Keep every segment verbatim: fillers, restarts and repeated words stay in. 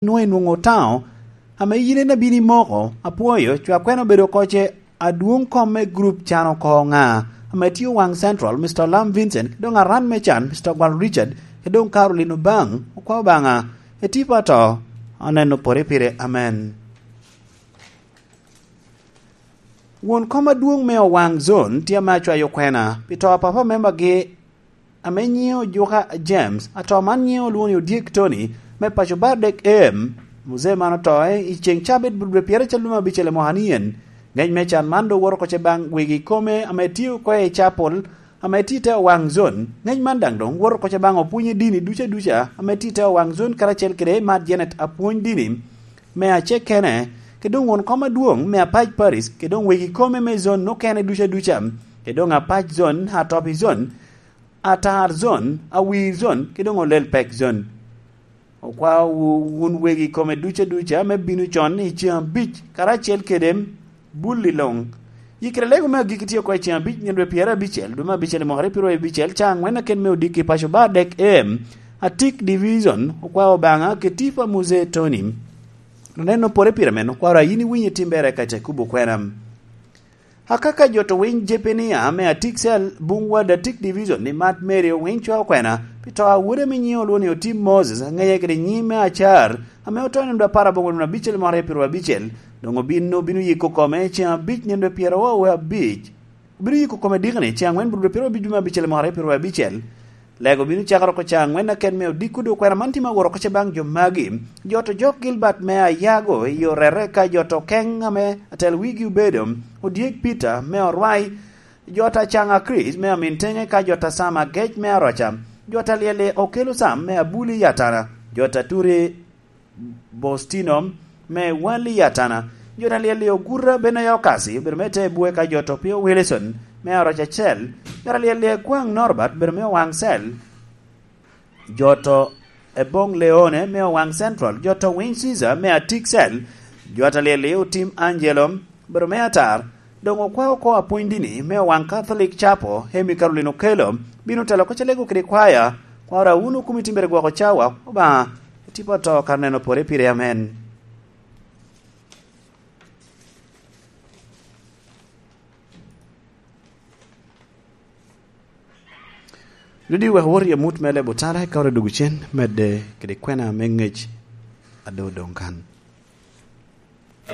nwoŋo inwoŋo otao, ame yin en abino imoko, apwoyo, cwakwena obedo oko ce adwoŋ kom me gurup can oko ŋa, ame tye Owaŋ Central, Mister Lam Vincent, ki doŋ aran me can, Mister Gwal Richard, ki doŋ Caroline Obaŋ, okwa Obaŋa, etipa to, aneno pore pire, amen. Won kom adwoŋ me Owaŋ Zone tye ame acwayo kwena pi to a papa membagi ame nyiŋe Ojuka James, ato man nyiŋe olwoŋo ni Odyek Tony, me paco Bardek em. Muzee man oto i ceŋ cabit dwe pyeracel lume abicel i mwaka ni en. Ŋec me can man doŋ woto oko ce baŋ wegi kome ame tye oko i capol, ame tye i te Owaŋ Zone. Ŋec man daŋ doŋ woto oko ce baŋ opwony i dini duca duca ame tye i te Owaŋ Zone karacel kede Mad Janet apwony dini me acekene, kede doŋ won kom adwoŋ me apac Paris, kede doŋ wegi kome me zone okene duca duca, kede doŋ apac zone, atop i zone, atar zone, awir zone, kede doŋ olel pek zone. Okwao wu-, wun wegi kome duca duca me bino con i ceŋ abic, karacel kede bulli luŋ. Yikere lego me agikki tye oko i ceŋ abic, nino dwe pyerabicel, dwe me abicel i mwaka aryo abicel, caŋ ŋwen aken me odiki paco Bardek em, Atik Division, okwao Obaŋa, Ketipa Muzee Tony. Oneno pore pire men, okwaro a yin iwinyo i tim bere ka te kubo kwena. Akaka jo to winy Jepenia me Atik Cell, Bungwad Atik Division, ni Mat Mary owiny cwa okwena, pi to a wode ame nyiŋe olwoŋo ni Otim Moses, aŋeye kede nyiŋ me Acar, ame oto nino dwe apar aboŋo dwe abicel mwaka aryo abicel, doŋ obin, obino yiko kome ceŋ abic nino dwe pyeraryo abic. Obino yiko kome dikni ceŋ aŋwen bur dwe pyeraryo abic dwe me abicel mwaka aryo abicel. Lego bino cakere oko ca aŋwen aken me odiko dwe kwena man tye ma woro oko ce baŋ jo magi. Jo to Jok Gilbert me Ayago i Orere ka jo to Keng ame atel wigi obedo Odyek Peter me Orwai, jo ta Caŋa Chris me Amintenge ka jo ta Sam Agec me Aroca, jo ta Lyelle Okelo Sam me Abuli Yatana, jo ta Turi Bostino me Wali Yatana, jo ta Lyelle Oguta Benaya Okasi obedo me te bwe ka jo to Pio Wilson me Aroca Cel, jo ta Lyelle Kwaŋ Norbert obedo me Owaŋ Cel, jo to Ebong Leone me Owaŋ Central, jo to Winy Caesar me Atik Cell, jo ta Lyelle Otim Angelo, obedo me Atar, doŋ okwao oko apwony dini me Owaŋ Catholic Chapel, Amy Caroline Okello, bino telo oko ce lego kede kwaya, kwaro a wun okumi timbere gwoko cawa, Obaŋa, etipa to kara neno pore pire, amen. Ludi wek wot i amut me lebo tara, eka wot adugu cen, medde kede kwena me ŋec a doŋ odoŋ kan.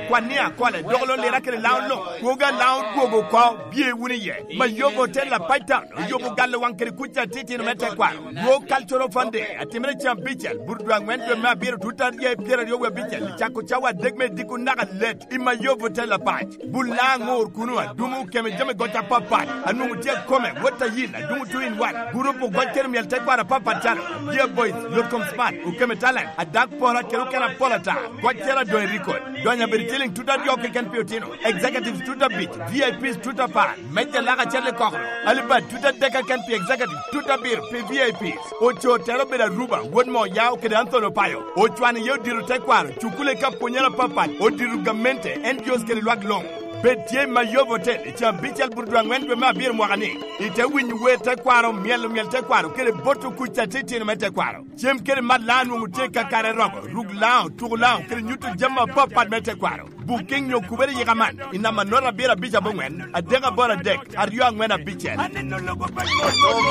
Kwan ni akole, dok lo lira kede law lo, kwoga law dwogo oko, bye wunu iye. Mayobo Hotel Apac Town, oyobo galo waŋ kede kuca titino me tekwaro. Dwog Cultural Fund Day, atimere cen abicel, bur dwe aŋwen dwe me abiro, tut aryo i pyeraryo wie abicel, cako cawa adek me diko naka let, i Mayobo Hotel Apac. Bul laŋ ŋor kuno, adumo keme jami goc apapat. Anwoŋo tye akome, wot a yin, adumo two in one. Gurup ogoc kede myel tekwaro apapat calo, Dear Boys, Yotkom Smart, Okeme Talent, Adak Pora kede okene apol ata. Goc cero adoŋ i record. Donyo abedo ciliŋ tut aryo keken pi otino. Executives tut abic, V I Ps tut apar. Mejja lak acel i kokoro. Alibad tut adek keken pi executives, tut abiro pi V I Ps. Ocoo tero obedo Aruba, wod Moya kede Anthony Opayo. Ocwano iye odiro tekwaro, cukule ka pwonyere apapat, odiro gamente, N G Os kede lwak luŋ. Bed tye i Mayobo Hotel, i caa abicel bur dwe aŋwen dwe me abiro mwaka ni. Ite winyo wer tekwaro, myelo myel tekwaro, kede boto kuc atitino me tekwaro. Cem kede mat laŋ nwoŋo tye kakare romo, ruk laŋ, tuko laŋ, kede nyuto jami apapat me tekwaro. Booking nyo kubere yika man, i namba note abiro abic aboŋwen, adek aboro adek, aryo aŋwen abicel. Aneno lobo pa Tom,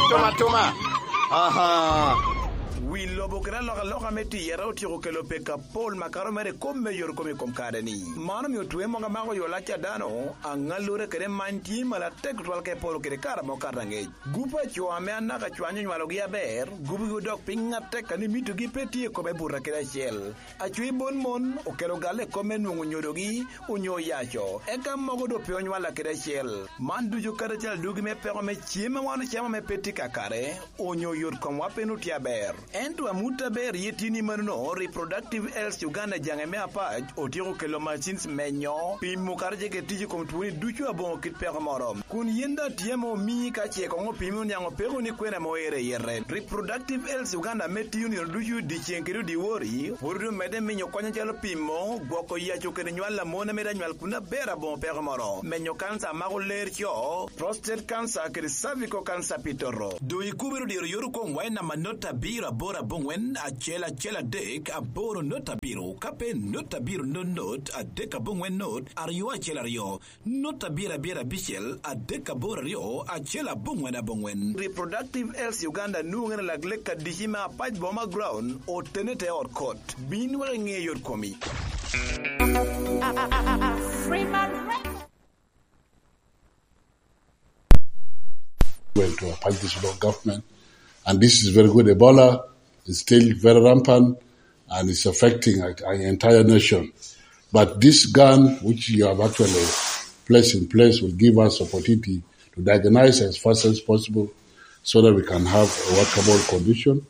Tom atoma. Aha. Wi lobo kede alokaloka me tiyere otyeko kelo pek apol makato mere i kom me yot kom i kom kare-ni. Man omio twe mogo amako yo lac a dano, aŋallure kede many tye malatek tutwal ka eporo kede kare amo kato aŋec. Gup a co ame anaka cwany onywalogi aber, gupgi odok piny atek, kadi mitogi pe tye i kome buta kede acel. Acwi bon mon okelo galle i kome nwoŋo nyodogi onyo oyaco, eka mogo doŋ pe onywalla kede acel. Man ducu kadi acel adugi me peko me cem a wan ocamo ame pe tye kakare, onyo yot komwa pe nwoŋo tye aber. Ento amut aber ye tye ni manono, Reproductive Health Uganda jaŋe me apac otyeko kelo machines menyo, pimo kadi ce kede tic i kom twoni ducu aboŋo kit peko moro. Kun yin daŋ tye ame omii ka ce koŋ opimi oniaŋ opeko ni kwene ame oero i yete. Reproductive Health Uganda ame tiyo nino ducu dyeceŋ kede odiwori, pwod omedde minyo kony acalo pimo, gwoko yaco kede nywal a mon ame daŋ nywal kun aber aboŋo peko moro, menyo kanca a mako ler co, prostate cancer kede cervical cancer pi toto. Doŋ ikubere odiro yot okomwa i namba note abiro aboro abongwen acel acel adek aboro not abiro, ka pe not abiro not not adek abongwen not aryo acel aryo, not abiro abiro abicel adek aboro aryo acel abongwen abongwen. Reproductive Health Uganda nwoŋere lak lek adici me Apac Boma Ground, otene te ot kot. Bin wek iŋe yot komi. Freeman Records. Well, to Apac District Government, and this is very good. Ebola is still very rampant, and it's affecting a, a entire nation. But this gun, which you have actually placed in place, will give us opportunity to diagnose as fast as possible so that we can have a workable condition.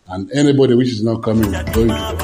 And anybody which is not coming, going to the